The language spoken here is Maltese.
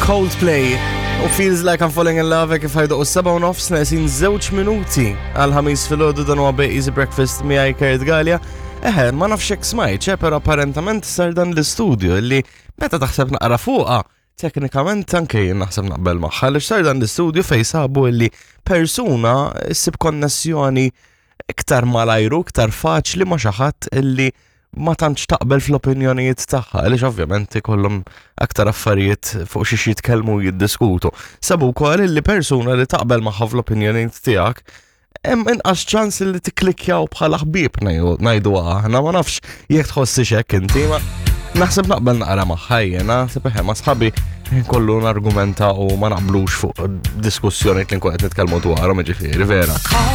Coldplay u Feels Like I'm Falling in Love kif ħajdu u 7:30 neqsin 2 minuti għal 5 filgħodu. Dan huwa Easy Breakfast miegħi Kurt Galea. Eħe, ma nafx hekk smajt, però apparentament sar dan l-istudju li meta taħseb naqra fuqha, teknikament anke jien naħseb naqbel magħha, li sar dan l-istudju fej sabu li persuna ssib konnessjoni iktar malajru, iktar faċli ma' xi ħadd illi ma tantx taqbel fl-opinjonijiet tagħha, għaliex ovvjament ikollhom aktar affarijiet fuq xiex jitkellmu u jiddiskutu. Sabu wkoll li persuna li taqbel magħha fl-opinjonijiet tiegħek hemm inqas ċans li tikklikkjaw bħala ħbieb, ngħidu aħna. Ma nafx jekk tħossi hekk inti, ma naħseb naqbel naqra magħha jiena, naħseb eħe ma sħabi kollu nargumenta u ma naqblux fuq diskussjoni li nkun qed nitkellmu dwarhom, ġifieri vera.